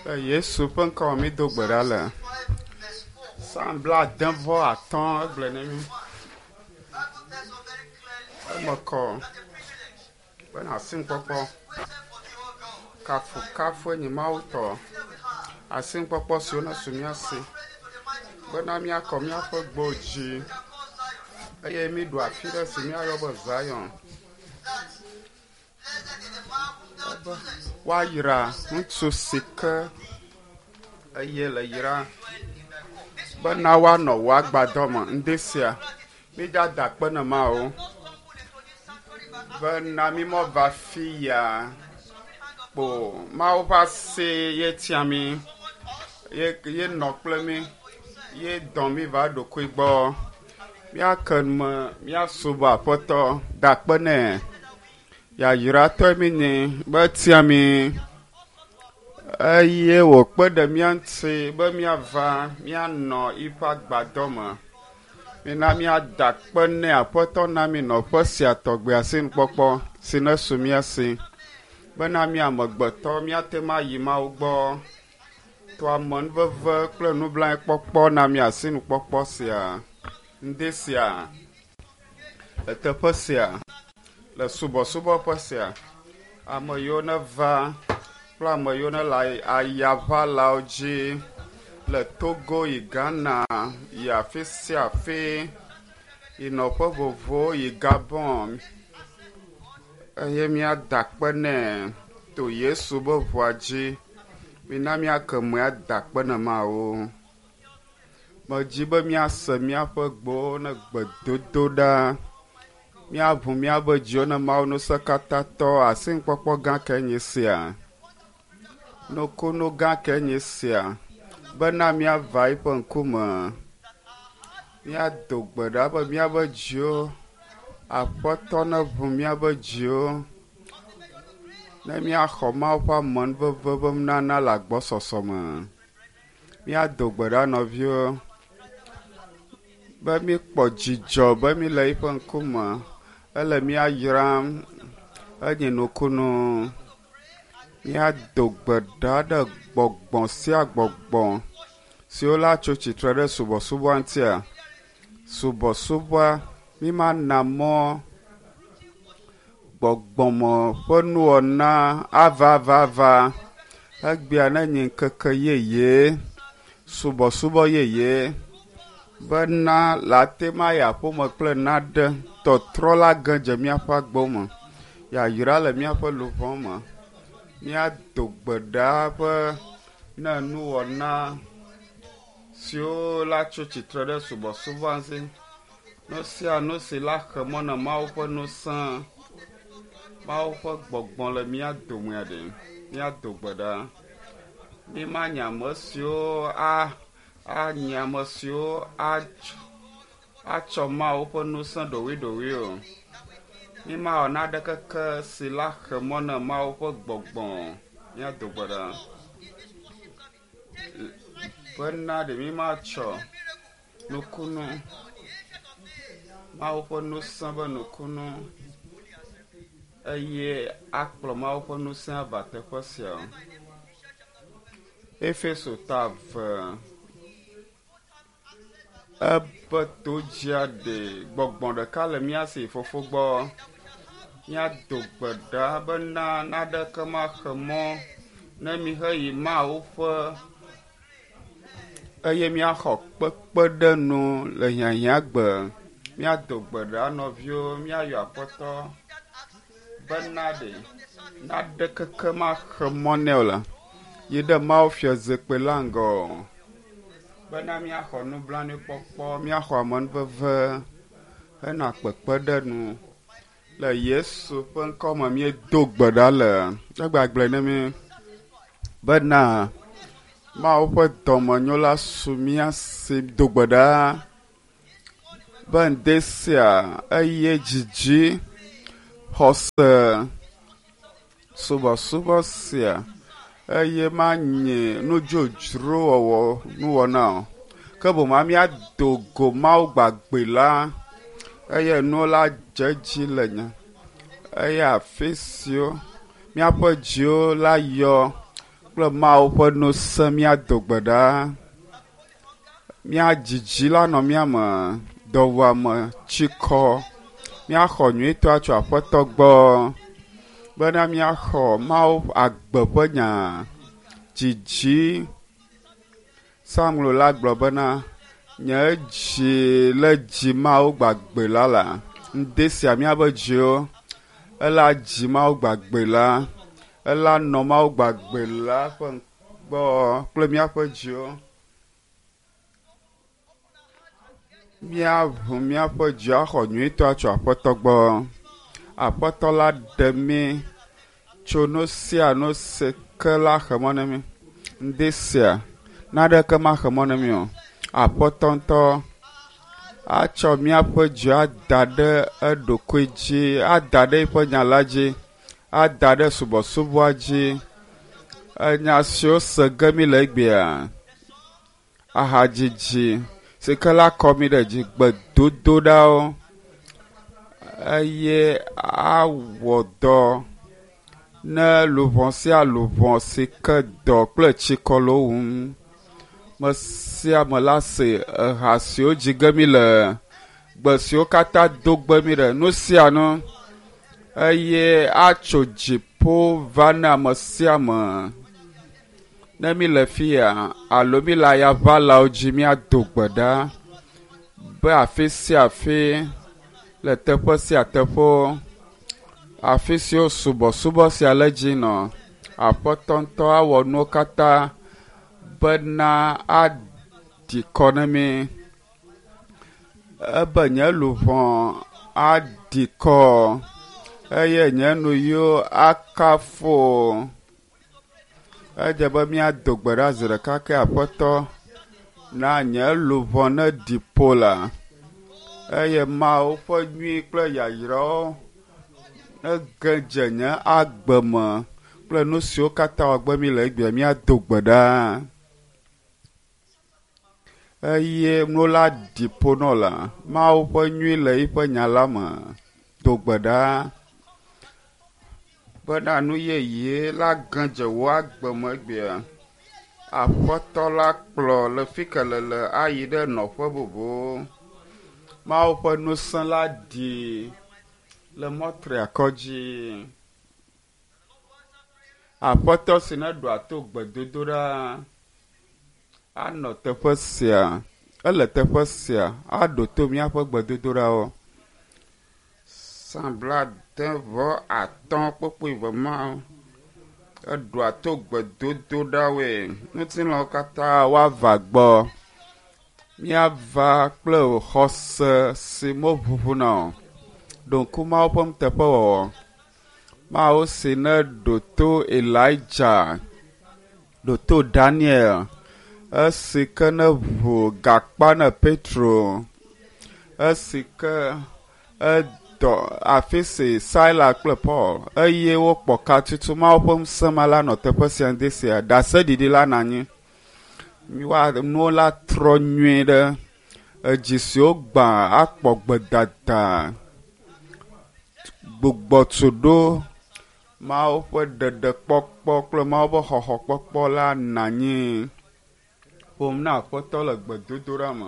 Le Yesu ƒe ŋkɔ me mído gbe ɖa le. 65 verse 4. Psalm 75 egblɔe ne mí. Bible tells us very clearly Eme kɔ that a privilege bena asinukpɔkpɔ waited for the old God. kafukafue nye Mawu tɔ. Today we have Asinukpɔkpɔ siwo nesu mía si praise to the mighty God. bena míakɔ míaƒe gbewo dzi We can call Zion. eye míɖu afi ɖe si míayɔ be Zion. That blessed is the man whom thou choosest. Woayra ŋutsu si ke eye le yra Dwell in thy court. This bena woanɔ wò agbadɔ me ŋdi sia. Mídzada akpe ne Mawu most humble into this sanctuary by bena mímɔva fi ya sovereign hand of kpo Mawu ƒe asi ye tia mí summoned us ye ye nɔ kple mí for himself. ye dɔ mí va eɖokui gbɔ. Míake me míasubɔ Aƒetɔ da akpe nɛ. Yayratɔe mí nyi be etia mí eye wòkpe ɖe mía ŋuti be míava míanɔ yiƒe agbadɔ me. Mina míada akpe nɛ Aƒetɔ na mí nɔƒe sia tɔgbe asinukpɔkpɔ si nesu mía si bena mí amegbetɔ míate ŋu ayi Mawu gbɔ. To amenuveve kple nublanuikpɔkpɔ na mí asinukpɔkpɔ sia, ŋdi sia, le teƒe sia, le subɔsubɔƒe sia. Ame yiwo neva kple ame yiwo ne le ayaʋalawo dzi le Togo yi Ghana yi afi sia afi yi nɔƒe vovovowo yi Gabon eye míada akpe nɛ to Yesu be ʋua dzi. Mina míake moe ada akpe ne Mawu. Medzi be míase míaƒe gbewo ne gbedodo ɖa. Míaʋu míaƒe dziwo ne Mawu ŋusẽkatãtɔ asinukpɔkpɔ gã kae nye sia. Nukunu gã kae nye sia bena míava eƒe ŋkume. Míado gbe ɖa be míaƒe dziwo Aƒetɔ neʋu míaƒe dziwo ne míaxɔ Mawu ƒe amenuveve be nunana le agbɔsɔsɔ me. Míado gbe ɖa nɔviwo be míkpɔ dzidzɔ be míle eƒe ŋkume. Ele mía yram enye nukunu. Míado gbe ɖa ɖe gbɔgbɔ sia gbɔgbɔ siwo la tso tsitre ɖe subɔsubɔa ŋutia. Subɔsubɔa mímana mɔ gbɔgbɔme ƒe nuwɔna ava ava ava. Egbea ne nye ŋkeke yeye, subɔsubɔ yeye bena le ate ŋu ayi aƒeme kple naɖe tɔtrɔ la ge dze míaƒe agbewo me. Yayra le míaƒe luʋɔ me. Míado gbe ɖa be ne nuwɔna siwo la tso tsitre ɖe subɔsubɔa ŋuti, nu sia nu si la xe mɔ na Mawu ƒe ŋusẽ, Mawu ƒe gbɔgbɔ le mía domea ɖe, míado gbe ɖa. Mímanye ame siwo a anye ame siwo atsɔ Mawu ƒe ŋusẽ ɖoɖoeɖoɖoe o. Mímawɔ naɖe keke si la xe mɔ na Mawu ƒe gbɔgbɔ. Míado gbe ɖa. Bena ɖe mímatsɔ nukunu, Mawu ƒe ŋusẽ be nukunu eye akplɔ Mawu ƒe ŋusẽ ava teƒe sia o. Efeso ta 2 ebe todzia ɖe gbɔgbɔ ɖeka le mía si fofo gbɔ. Míado gbe ɖa bena naɖeke maxe mɔ ne míheyi Mawu ƒe eye míaxɔ kpekpeɖeŋu le hiahiãgbe. Míado gbe ɖa nɔviwo, míayɔ Aƒetɔ bena ɖe naɖe keke maxe mɔ nɛ o la yi ɖe Mawu fiazikpui la ŋgɔ bena míaxɔ nublanuikpɔkpɔ, míaxɔ amenuveve hena kpekpeɖeŋu. Le Yesu ƒe ŋkɔ me míedo gbe ɖa le egbagblɔe ne mí bena Mawu ƒe dɔmenyo la su mía si do gbe ɖa be ŋdi sia eye dzidzi, xɔse, subɔsubɔ sia eye manye nudzodzro wɔwɔ nuwɔna o. Ke boŋ míado go Mawu gbagbe la eye nuwo la dze edzi le nya eye afi siwo míaƒe dziwo la yɔ kple Mawu ƒe ŋusẽ míado gbe ɖa. Mía dzidzi la nɔ mía me, dɔwuame, tsikɔ, míaxɔ nyuitɔa tso Aƒetɔ gbɔ bena míaxɔ Mawu agbe ƒe nya. Dzidzi. Samuel la gblɔ bena, nye dzi le dzi Mawu gbagbe la la. Ŋdi sia míaƒe dziwo, ela dzi Mawu gbagbe la, ela nɔ Mawu gbagbe la ƒe gbɔ kple míaƒe dziwo. Míaʋu míaƒe dzi axɔ nyuitɔa tso Aƒetɔ gbɔ. Aƒetɔ la ɖe mí tso nu sia nu si ke la xe mɔ na mí. Ŋdi sia, naneke maxe mɔ na mí o. Aƒetɔ ŋutɔ atsɔ míaƒe dzi ada ɖe eɖokui dzi, ada ɖe eƒe nya la dzi, ada ɖe subɔsubɔa dzi. Enya siwo se ge mí le egbea, ahadzidzi si ke la kɔ mí ɖe dzi, gbedodoɖawo eye awɔ dɔ ne luʋɔ sia luʋɔ si ke dɔ kple tsikɔ le wo wum. Me sia ame la se eha siwo dzi ge mí le, gbe siwo katã do gbe mí ɖe, nu sia nu eye atso dziƒo va na ame sia ame. Ne mí le fiya alo mí le ayaʋalawo dzi míado gbe ɖa be afi sia afi le teƒe sia teƒewo, afi siwo subɔsubɔ sia le dzi nɔ, Aƒetɔ ŋutɔ awɔ nuwo katã bena aɖi kɔ na mí. Ebe nye luʋɔ aɖi kɔ eye nye nuyiwo akafu. Edze be míado gbe ɖa zi ɖeka ke Aƒetɔ na nye luʋɔ neɖi ƒo la eye Mawu ƒe nyui kple yayrawo nege dze nye agbe me kple nu siwo katã wɔgbe mí le egbea míado gbe ɖa. Eye nu la ɖi ƒo nɔ la, Mawu ƒe nyui le eƒe nya la me. Do gbe ɖa bena nu yeye la ge dze wò agbe me egbea. Aƒetɔ la kplɔ le fi ke lele ayi ɖe nɔƒe bubu. Mawu ƒe ŋusẽ la ɖi le mɔtriakɔ dzi. Aƒetɔ si neɖoa to gbedodoɖa anɔ teƒe sia, ele teƒe sia aɖo to míaƒe gbedodoɖawo. Psalm 75 mawo eɖoa to gbedodoɖawoe. Ŋutilãwo katã woava gbɔ. Míava kple xɔse si meʋuʋuna o. Ɖo ŋku Mawu ƒe nuteƒewɔwɔ. Mawu si neɖo to Elijah, ɖo to Daniel, esi ke neʋu gakpa na Petro, esi ke edɔ afi si Sila kple Paul eye wokpɔ ka tutu Mawu ƒe ŋusẽ ma la nɔ teƒe sia ŋdi sia. Ɖaseɖiɖi la nɔ anyi. Nuwo la trɔ nyuie ɖe. Edzi siwo gbã akpɔ gbedada gbugbɔ tu ɖo. Mawu ƒe ɖeɖekpɔkpɔ kple Mawu ƒe xɔxɔkpɔkpɔ la nɔ anyi. Ƒom na Aƒetɔ le gbedodoɖa me.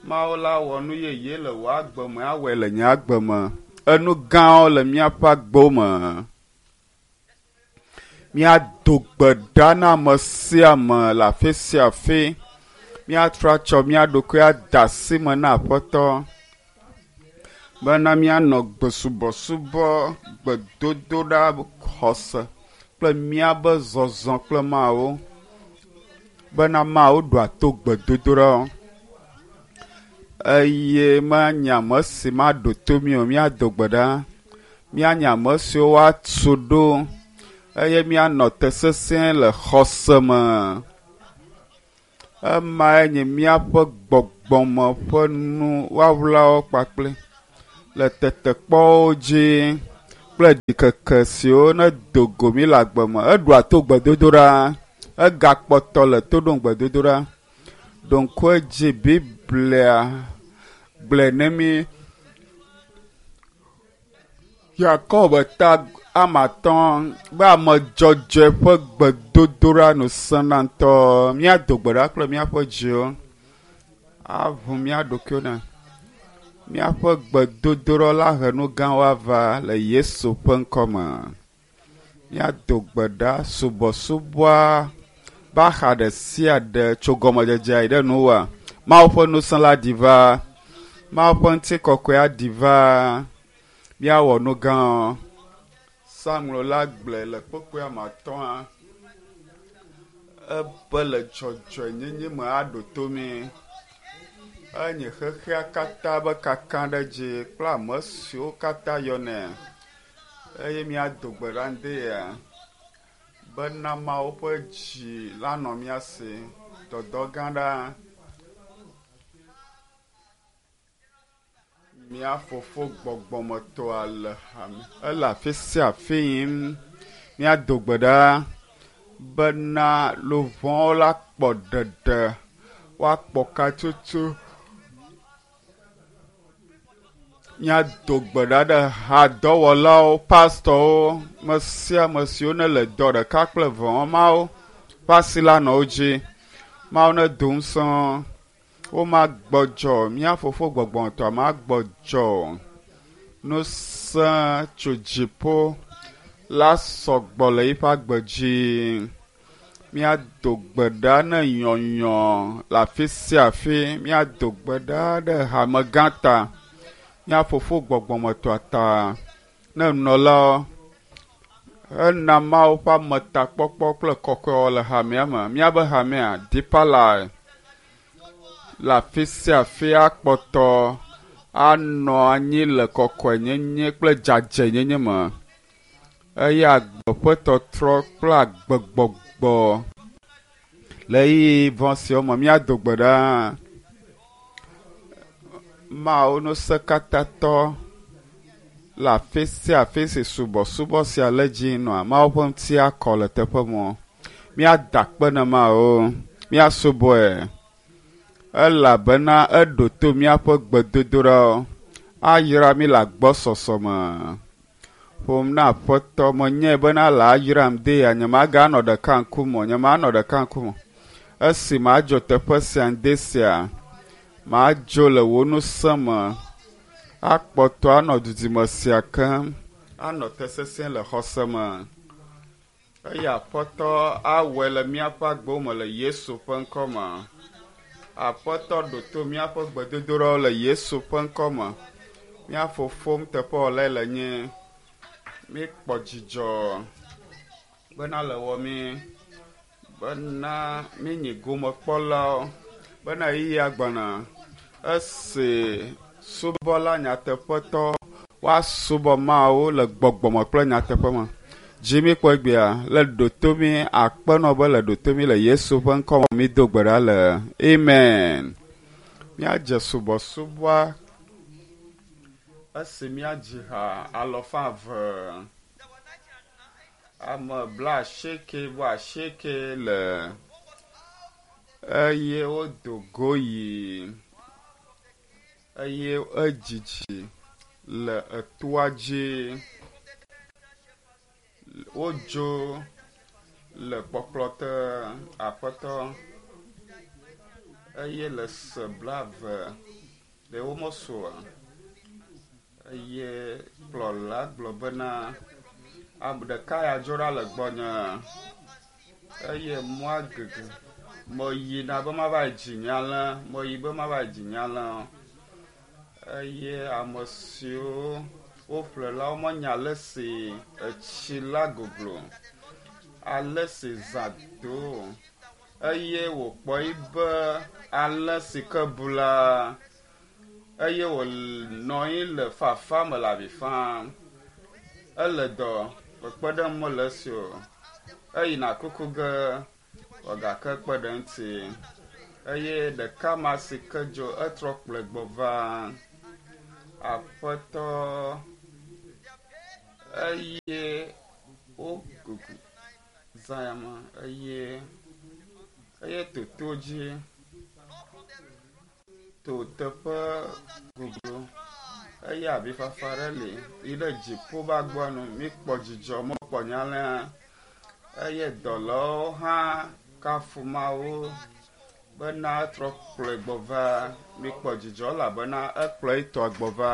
Mawu la wɔ nu yeye le wò agbe me, awɔe le nye agbe me. Enu gãwo le míaƒe agbewo me. Míado gbe ɖa na ame sia ame le afi sia afi. Míatrɔ atsɔ mía ɖokui ade asi me na Aƒetɔ bena míanɔ gbesubɔsubɔ, gbedodoɖa, xɔse kple míaƒe zɔzɔ kple Mawu bena Mawu ɖoa to gbedodoɖawo eye manye ame si maɖo to mí o. Míado gbe ɖa. Míanye ame siwo woatu ɖo eye míanɔ te sesĩe le xɔse me. Emae nye míaƒe gbɔgbɔme ƒe nu woawlawo kpakple le tetekpɔwo dzi kple ɖikeke siwo nedo go mí le agbe me. Eɖoa to gbedodoɖa. Egakpɔtɔ le to ɖom gbedodoɖa. Ɖo ŋku edzi Biblia gblɔe ne mí. Yakob ta Ame atɔ̃ be ame dzɔdzɔe ƒe gbedodoɖa nu sẽna ŋutɔ. Míado gbe ɖa kple míaƒe dziwo aʋu mía ɖokuiwo ne míaƒe gbedodoɖa la he nu gãwo ava le Yesu ƒe ŋkɔme. Míado gbe ɖa subɔsubɔa be axa ɖe sia ɖe tso gɔmedzedzea yi ɖe nuwua. Mawu ƒe ŋusẽ la ɖi va. Mawu ƒe ŋutikɔkɔe aɖi va. Míawɔ nu gãwo. Psalmo la gblɔe le kpukpui ame atɔ̃a ebe le dzɔdzɔenyenye me aɖo to mí. Enye xexea katã be kaka ɖe dzi kple ame siwo katã yɔnɛ eye míado gbe ɖa ŋdi ya bena Mawu ƒe dzi la nɔ mía si. Dɔdɔ gã ɖa. Mía fofo gbɔgbɔmetɔa le hame ele afi sia afi yim. Míado gbe ɖa bena luʋɔwo la kpɔ ɖeɖe, woakpɔ katsotso. Míado gbe ɖa ɖe hadɔwɔlawo, pastɔwo, me sia ame siwo ne le dɔ ɖeka kple eve wɔm mawo ƒe asi la nɔ wo dzi. Mawu nedo ŋusẽ wo. Womagbɔdzɔ mía fofo gbɔgbɔmetɔa magbɔdzɔ o. Ŋusẽ tso dziƒo la sɔgbɔ le yiƒe agbe dzi. Míado gbe ɖa ne nyɔnyɔ le afi sia afi. Míado gbe ɖa ɖe hamegã ta, mía fofo gbɔgbɔmetɔa ta, ne nunɔlawo ena Mawu ƒe ametakpɔkpɔ kple kɔkɔewɔ le hamea me. Míabe hamea, Deeper Life, le afi sia afi akpɔtɔ anɔ anyi le kɔkɔenyenye kple dzadzɛnyenye me eye agbe ƒe tɔtrɔ kple agbegbɔgbɔ le ɣeyiɣi vɔ̃ siawo me míado gbe ɖa. Mawu ŋusẽkatãtɔ le afi sia afi si subɔsubɔ sia le dzi nɔa Mawu ƒe ŋuti akɔ le teƒe mɔ. Míada akpe ne Mawu, míasubɔe elabena eɖo to míaƒe gbedodoɖawo. Ayra mí le agbɔsɔsɔ me. Ƒom na Aƒetɔ, menyae bena le ayram de ya, nyemaganɔ ɖeka ŋkume o, nyemanɔ ɖeka ŋkume o. Esi madzo teƒe sia ŋdi sia, madzo le wò ŋusẽ me, akpɔtɔ anɔ dudime sia kem, anɔ te sesĩe le xɔse me. Eye Aƒetɔ awɔe le míaƒe agbewo me le Yesu ƒe ŋkɔ me. Aƒetɔ ɖo to míaƒe gbedodoɖawo le Yesu ƒe ŋkɔ me. Mía fofo nuteƒewɔlae le nyi. Míkpɔ dzidzɔ bena le wɔ mí, bena míenyi gomekpɔlawo, bena ɣeyiɣia gbɔna esi subɔla nyateƒetɔ woasubɔ Mawu le gbɔgbɔme kple nyateƒe me. Dzi míkpɔ egbea le ɖo to mí akpenɔ be le ɖo to mí le Yesu ƒe ŋkɔ me mído gbe ɖa le amen. Míadze subɔsubɔa esi míadzi ha alɔfa eve ame 89 le eye wodo go yi eye edzidzi le etoa dzi. Wodzo le kpɔkplɔ te Aƒetɔ eye le se 20 ɖe womesu oa? Eye kplɔla gblɔ bena, ame ɖeka ya dzo ɖa le gbɔnye eye mɔa gege. Meyina be mava yi dzi nye alẽ, meyi be mava yi dzi nye alẽ eye ame siwo woƒle la womenya ale si etsi la goglo, ale si zã do eye wòkpɔe be alẽ si ke bu la eye wònɔ anyi le fafa me le avi fam. Ele dɔ, kpekpeɖeŋu mele esi o. Eyina kuku ge wòagake kpe ɖe eŋuti eye ɖeka ma si ke dzo etrɔ kplɔe gbɔ va Aƒetɔ eye wogogo zã ya me eye eye toto dzi to teƒe goglo. Eye avifafa ɖe li yi ɖe dziƒo va gbɔ nu. Míkpɔ dzidzɔ mekpɔ nyalẽa eye dɔlawo hã kafu Mawu bena etrɔ kplɔe gbɔ va. Míkpɔ dzidzɔ elabena ekplɔ etɔa gbɔ va.